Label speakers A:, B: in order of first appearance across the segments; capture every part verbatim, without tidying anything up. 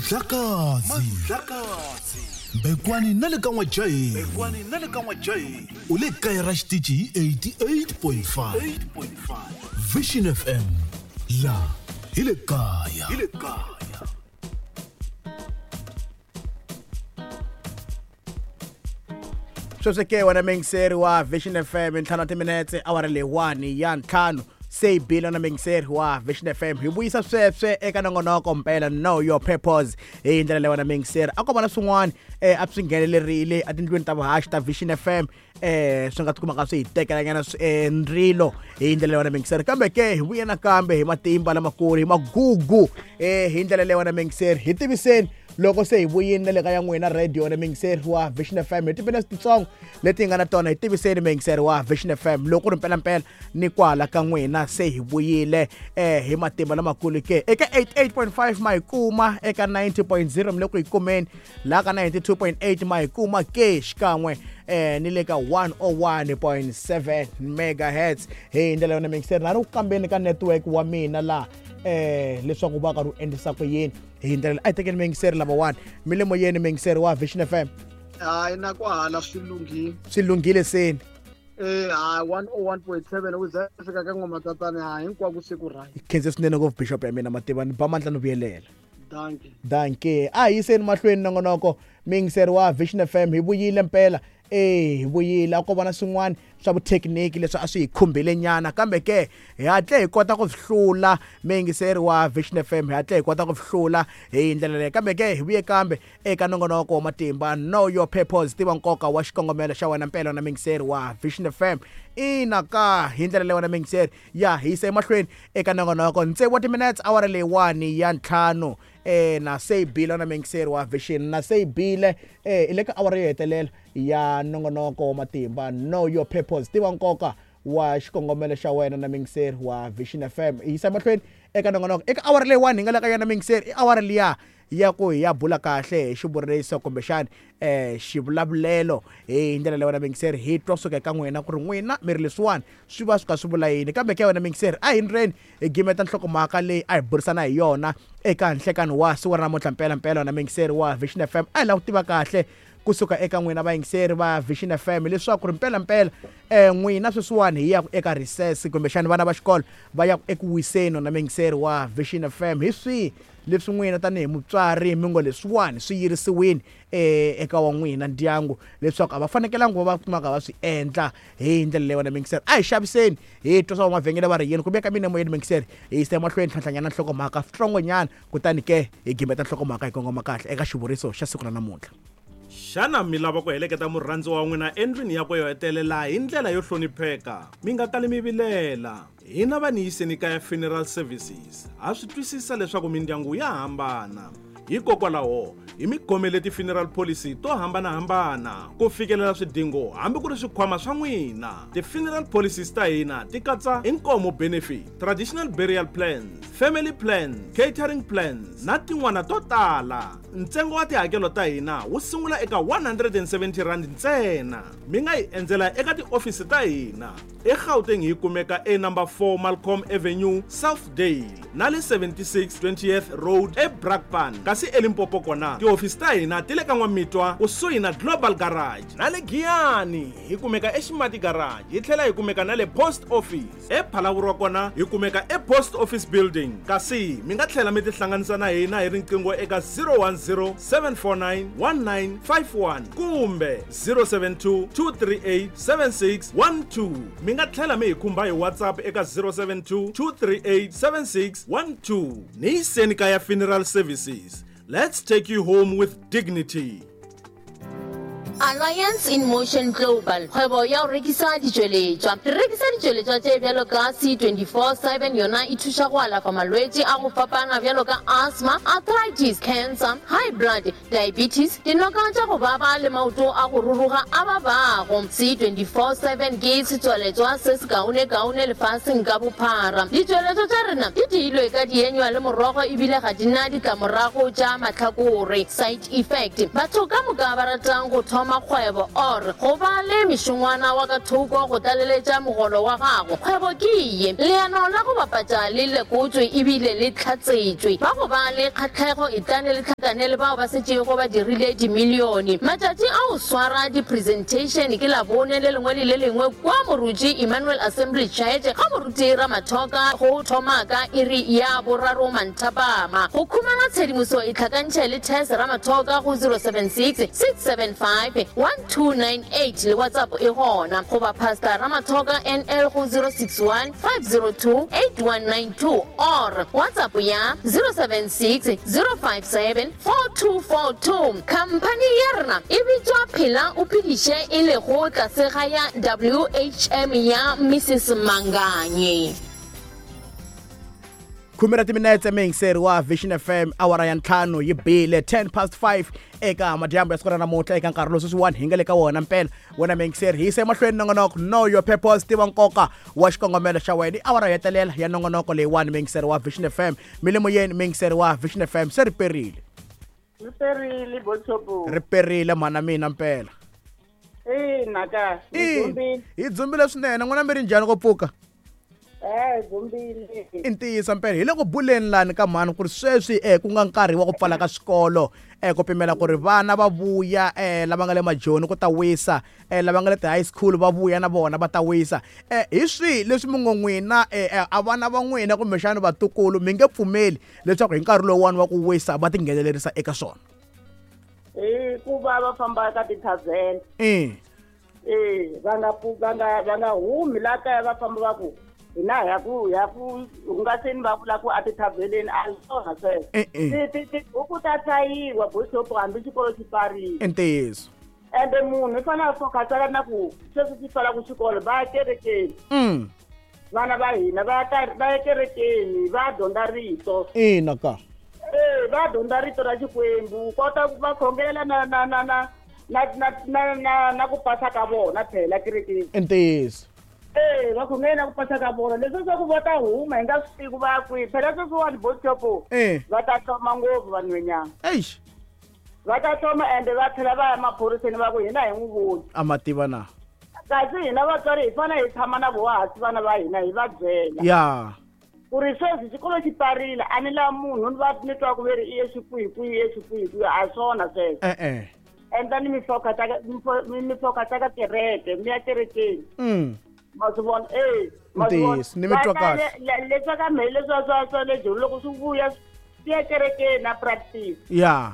A: Mandlakazi Bekwani na le ka N'wajayi Bekwani na le ka N'wajayi u le kaya ra xitichi hi eighty-eight point five Vision F M la hi le kaya hi le kaya.
B: Sweswi ke wena mingiseri wa Vision F M ntlhanu timinetse awara leyiwani ya ntlhanu se hi bile na mingiseri wa Vision F M hi vuyisa sweswe eka nongonoko mpela Know Your Purpose hi ndlela leyi wena mingiseri a ko va na swin'wana a swi nghenelerile etindlwini ta vuhaxi ta Vision F M eh swi nga tikumaka swi hi tekelanyana ndzilo hi ndlela leyi wena mingiseri kambe ke hi vuye nakambe hi matimba lamakulu hi magugu eh hi ndlela leyi wena mingiseri hi tiviseni loko se hi vuyini na le ka ya n'wina radio na mingiseri wa Vision F M hi timinetse titsongo leti hi nga na tona hi tiviseni mingiseri wa Vision F M loko ku ri mpelampela ni kwala ka n'wina se hi vuyile eh hi matimba lamakulu ke eka eighty-eight point five ma hi kuma eka ninety point zero mi le ku hi kumeni laha ka ninety-two point eight ma hi kuma ke xikan'we eh ni le ka one oh one point seven megahertz hi ndlela yona mingiseri na ri ku kambeni ka network wa mina laha eh leswaku va karhi u endlisa ku yini hi ndlela a hi tekeni mingiseri lavawani mi le moyeni mingiseri wa Vision F M.
C: Hayi na kwahala swi lunghile
B: swi lunghile seni
C: eh hayi one oh one point seven u za fika ka ngoma tatana ha hinkwako siku right.
B: Khense swinene ngopfu bishop ya mina mativa ni ba mandla no vuyelela.
C: Dankie.
B: Dankie. A hi yiseni mahlweni nongonoko mingiseri wa Vision F M hi vuyile mpela eh hi vuyile a ko va na swin'wana swa vuthekiniki leswi a swi hi khumbile nyana kambe ke hi hatle hi kota ku swi hlula mingiseri wa Vision F M hi hatle hi kota ku swi hlula hi ndlela leyi kambe ke hi vuye kambe eka nongonoko wa matimba Know Your Purpose tiva nkoka wa xikongomelo xa wena mpela na mingiseri wa Vision F M ina ka hi ndlela leyi wena mingiseri ya hi yisa emahlweni eka nongonoko tsevu wa timinetse awara leyiwani ya ntlhanu eh na se bile na mingiseri wa Vision na se bile eh ile ka awara yo hetelela ya nongonoko wa matimba Know Your Purpose tiva nkoka wa xikongomelo xa wena na mingiseri wa Vision F M hi yisa mahlweni eka nongonoko eka awara leyiwani hi nga le ka yona mingiseri i awara liya ya ku hi ya bula kahle hi xivuriso kumbexani eh xivulavulelo hi ndlela leyi wena mingiseri hi twa suka eka n'wina ku ri n'wina mi ri leswiwani swi va swi ka swi vula yini kambe ke wena mingiseri a hi ndleni hi gimeta nhlokomhaka leyi a hi burisana hi yona eka nhlekani wa siku ra namuntlha mpela mpela na mingiseri wa Vision F M a hi lava ku tiva kahle kusuka eka n'wina vayingiseri va Vision F M leswaku ri mpela mpela eh n'wina sweswiwani hi ya eka recess kumbexani vana va xikolo va ya eku wiseni na mingiseri wa Vision F M hi swihi leswi n'wina tanihi mutswari mi ngo leswiwani swi yirisiwini eh eka wa n'wina ndyangu leswaku a va fanekelanga va va kumaka va swi endla hi ndlela leyi wena mingiseri a hi xaviseni hi twa swa mavhengele va ri yini kumbe ka mina moyeni mingiseri hi yisa emahlweni tlhantlhanyana nhlokomhaka switsongonyana kutani ke hi gimeta nhlokomhaka hi kongoma kahle eka xivuriso xa siku ra namuntlha.
D: Xana mi lava ku heleketa murhandzi wa n'wina endlwini ya ku yo hetelela hi ndlela yo hlonipheka mi nga kali mi vilela hina va ni yiseni kaya funeral services ha swi twisisa leswaku mindyangu ya hambana hikokwalaho hi mi khomele ti-funeral policy to hambanahambana ku fikelela swidingo hambi ku ri swikhwama swa n'wina. Ti-funeral policies ta hina ti katsa inkomo benefit, traditional burial plans, family plans, catering plans na tin'wana to tala. Ntsengo wa tihakelo ta hina wu sungula eka one hundred and seventy rand ntsena. Mi nga hi endzela eka tiofisi ta hina eGauteng hi kumeka e number four Malcolm Avenue, Southdale na le seventy-six twentieth Road eBrakpan. Kasi eLimpopo kona tiofisi ta hina ti le ka N'wamitwa kusuhi na Global Garage na le Giyani hi kumeka eXimati Garage hi tlhela hi kumeka na le Post Office. ePhalaborwa kona hi kumeka ePost Office Building. Kasi mi nga tlhela mi tihlanganisa na hina hi riqingho eka zero one zero seven four nine one nine five one kumbe zero seven two two three eight seven six one two. Mi nga tlhela mi hi khumba hi WhatsApp eka zero seven two two three eight seven six one two. Ni yiseni kaya funeral services. Let's take you home with dignity.
E: Alliance in Motion Global kgwebo ya go rekisa ditšweletšwa. Re rekisa ditšweletšwa tše bjalo ka C twenty-four seven yona e thuša go alafa malwetši a go fapana bjalo ka asthma, arthritis, cancer, high blood, diabetes, dinoka tša go baba le maoto a go ruruga a babago. C twenty-four seven ke setswaletšwa se se kaonekaone lefaseng ka bophara. Ditšweletšwa tša rena di diilwe ka dienywa le morogo ebile ga di na ditlamorago tša mahlakore, side effect. Batho ka moka ba ratang go thoma thoma kgwebo or go ba le mešongwana wa ka thoko go tlaleletša mogolo wa gago. Kgwebo ke ye leano la go bapatša le lekotswe ebile le tlhatsetšwe. Ba go ba le kgatlhego e tlane le tlhakane le bao ba setšego ba dirile dimilione. Matšatši a go swara di-presentation ke Labone le lengwe le le lengwe kwa Moruti Emmanuel Assembly Church ga Moruti Ramathoka go thoma ka iri ya boraro manthapama. Go khumana tshedimoso e tlhakantšhe le Tess Ramathoka go zero seven six, six seven five, one two nine eight le WhatsApp e gona, goba Pastor Ramathoka N L go zero six one, five zero two, eight one nine two or WhatsApp ya zero seven six, zero five seven, four two four two. Company ya rena e bitswa Phela o Phediše e lego tlase ga ya W H M ya Missus Manganye.
B: Khume ra timinetse miyingiseri wa Vision F M awara ya ntlhanu yi bile ten past five eka madyambu ya siku ra namuntlha eka nkarhi lowu sweswiwani hi nga le ka wona mpela. Wena miyingiseri hi yise emahlweni nongonoko Know Your Purpose, tiva nkoka wa xikongomelo xa wena. I awara yo hetelela ya nongonoko leyiwani miyingiseri wa Vision F M. Milimoyeni miyingiseri wa Vision F M se ri perile.
F: Ri perile Botshopo.
B: Ri perile mhana mina mpela.
F: Ina ka hi dzumbile.
B: Hi dzumbile swinene. N'wana mi ri njhani ko pfuka?
F: Eh, dzumbile.
B: I ntiyiso mpela hi le ku buleni lani ka mhani ku ri sweswi eh ku nga nkarhi wa ku pfala ka swikolo eh ku pimela ku ri vana va vuya eh lava nga le majoni ku ta wisa eh lava nga le ti-high school va vuya na vona va ta wisa. Eh hi swihi leswi mi ngo n'wina eh a vana va n'wina kumbexana vatukulu mi nge pfumeli leswaku hi nkarhi lowuwani wa ku wisa va tinghenelerisa eka swona?
F: Hi ku va va famba ka ti-tavern.
B: Eh.
F: Eh, va nga va nga va nga humi la kaya va famba va ku hina hi ya ku hi ya ku hungaseni va vula ku a ti-taverneni a hi swona sweswo. Tibuku ta hlayiwa Botshopo hambi xikolo xi pfarile.
B: I ntiyiso.
F: Ende munhu i fanele a focus-a na ku sweswi xi pfalaka xikolo va ya kerekeni. Vana va hina va ya va ya kerekeni va dyondza rito.
B: Ina ka.
F: Eh, va dyondza rito ra Xikwembu kota va khongelela na na na na na na na na na ku pasa ka vona phela kerekeni.
B: I ntiyiso.
F: Eh, va khongela ku pasa ka vona leswi swa ku va ta huma hi nga swi tivi ku va ya kwihi. Phela sweswiwani Botshopo va ta hloma ngopfu vanhwanyana.
B: Eish.
F: Va ta hloma ende va tlhela va ya maphoriseni va ku hina hi n'wi voni.
B: A ma tiva na.
F: Kasi hina vatswari hi fanele hi tshama na voho hansi vana va hina hi va byela.
B: Ya.
F: Ku ri sweswi xikolo xi pfarile a ni lavi munhu ni va ni twa ku ve ri i ye xikwihi i ye xikwihi a swona sweswo.
B: E-e.
F: Endlani mi focus ka mi focus ka kereke mi ya kerekeni.
B: Mm.
F: Ma swi vona eh ma swi vona
B: ni mi twa kahle.
F: Leswi ka mhe leswi swa swa le Joni loko swi vuya swi ya kerekeni na practice.
B: Ya.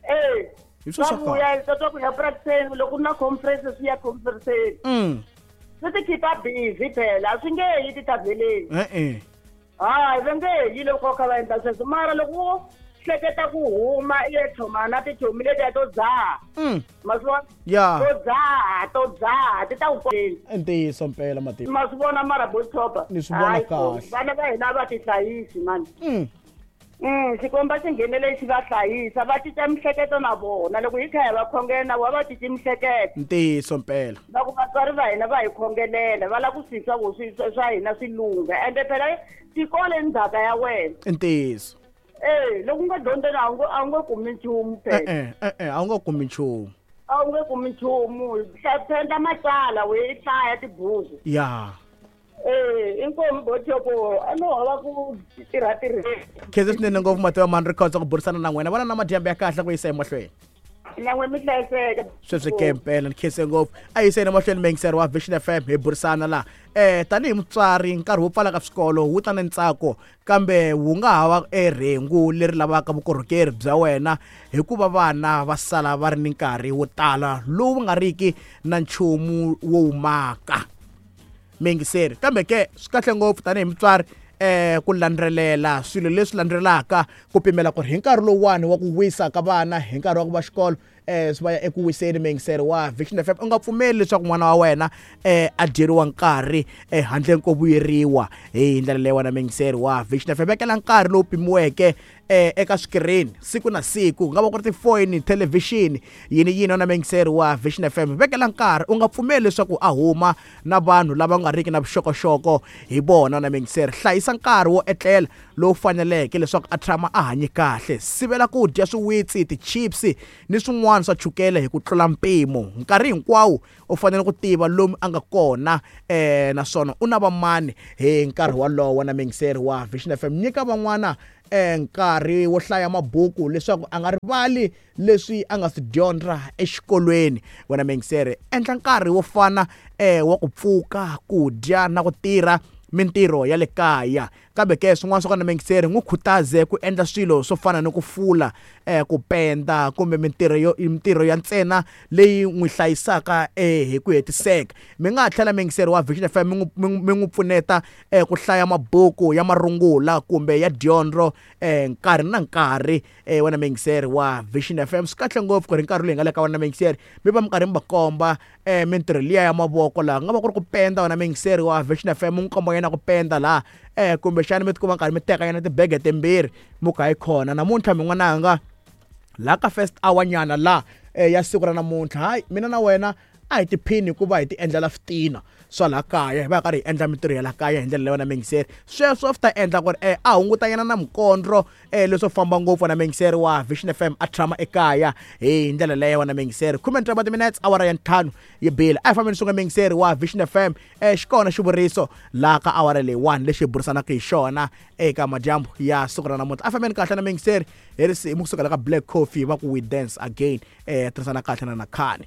F: Eh.
B: Hi swo swa
F: vuya swa ku ya practice loko na conference swi ya conference.
B: Mm.
F: Swi ti keep-a busy phela swi nge yi ti-taverneni.
B: E-e.
F: Hayi va nge yi loko kha va endla sweswo mara loko wo hleketa ku huma i ya tlhoma na tichomi letiya to dzaha. Ma swi vona?
B: Ya.
F: To dzaha to dzaha ti ta ku
B: I ntiyiso mpela mativa.
F: Ma swi vona mara Botshopo.
B: Ni swi vona kahle.
F: Vana va hina va ti hlayisi mani.
B: Mm.
F: Mm, Xikwembu xi nghenele xi va hlayisa va cinca mihleketo na vona loko hi kha hi va khongela na vona va cinci mihleketo.
B: Ntiyiso mpela.
F: Va ku vatswari va hina va hi khongelela va lava ku swi twa ku swi swa hina swi lungha ende phela xikolo i ndzhaka ya wena.
B: I ntiyiso.
F: Eh, loko u nga dyondzeni a wu nge a wu nge kumi nchumu phela.
B: E-e, e-e, a wu nge kumi nchumu.
F: A wu nge kumi nchumu hlaya matsala we i hlaya tibuku.
B: Ya.
F: Eh, inkomu Botshopo a no hava ku tirha tirheni.
B: Khensa swinene ngopfu Mativa mhani ri kotsa ku burisana na n'wina. Vana na madyambu ya kahle ku yisa emahlweni.
F: Na n'we mi hlayiseka.
B: Sweswi ke mpela ni khense ngopfu. A yiseni emahlweni miyingiseri wa Vision F M hi burisana laha. Eh tanihi mutswari nkarhi wo pfala ka swikolo wu ta na ntsako kambe wu nga ha va erhengu leri lavaka vukorhokeri bya wena hikuva vana va sala va ri ni nkarhi wo tala lowu nga riki na nchumu wo wu maka. Miyingiseri kambe ke swi kahle ngopfu tanihi mutswari eh ku landzelela swilo leswi landzelaka ku pimela ku ri hi nkarhi lowuwani wa ku wisa ka vana hi nkarhi wa ku va xikolo eh swi va ya eku wiseni miyingiseri wa Vision F M. U nga pfumeli leswaku n'wana wa wena eh a dyeriwa nkarhi eh handle ko vuyeriwa hi ndlela leyi wena miyingiseri wa Vision F M. Vekela nkarhi lowu pimiweke eh eka screen siku na siku, ku nga va ku ri tifoyini, thelevhixini, yini yini na miyingiseri wa Vision F M. Vekela nkarhi, u nga pfumeli leswaku a huma na vanhu lava nga riki na vuxokoxoko hi vona na miyingiseri. Hlayisa nkarhi wo etlela lowu faneleke leswaku a tshama a hanye kahle. Sivela ku dya swiwitsi, ti-chips ni swin'wana swa chukele hi ku tlula mpimo. Nkarhi hinkwawo u fanele ku tiva lomu a nga kona eh naswona u na vamani hi nkarhi wolowo. Na muyingiseri wa Vision F M, nyika van'wana eh nkarhi wo hlaya mabuku leswaku a nga rivali leswi a nga swi dyondza exikolweni. Wena muyingiseri, endla nkarhi wo fana eh wa ku pfuka, ku dya na ku tirha mintirho ya le kaya. Kambe ke swin'wana swa kona muyingiseri, n'wi khutaze ku endla swilo swo fana ni ku fula, eh ku penda kumbe mintirho yo mintirho ya ntsena leyi n'wi hlayisaka eh hi ku hetiseka. Mi nga ha tlhela muyingiseri wa Vision F M mi n'wi mi n'wi pfuneta eh ku hlaya mabuku ya marungula kumbe ya dyondzo eh nkarhi na nkarhi. Eh wena muyingiseri wa Vision F M, swi kahle ngopfu ku ri nkarhi lowu hi nga le ka wena muyingiseri mi va mi karhi mi va komba eh mintirho liya ya mavoko laha nga va ku ri ku penda. Wena muyingiseri wa Vision F M, n'wi komba yena ku penda laha eh kumbexana mi tikuma nkarhi mi teka yena tibege timbirhi mi ku hayi khona namuntlha min'wananga laha ka first hour nyana laha eh, ya siku ra namuntlha, hayi mina na wena a hi tiphini hikuva hi ti endlela switina swa laha kaya, hi va karhi hi endla mintirho ya laha kaya hi ndlela leyi. Wena muyingiseri, sweswo swi ta endla ku ri eh, a hunguta yena na mikondro eh, leswo famba ngopfu. Na muyingiseri wa Vision F M a tshama ekaya hi ndlela leyo. Wena muyingiseri, khume ntlhanu minutes awara ya ntlhanu yi bile. A hi fambeni swin'we muyingiseri wa Vision F M. eh, xi kona xivuriso laha ka awara leyiwani lexi hi burisanaka hi xona eka madyambu ya siku ra namuntlha. A hi fambeni kahle na muyingiseri hi risimu kusuka la ka Black Coffee va ku We Dance Again. eh tirhisana kahle na Nakhani.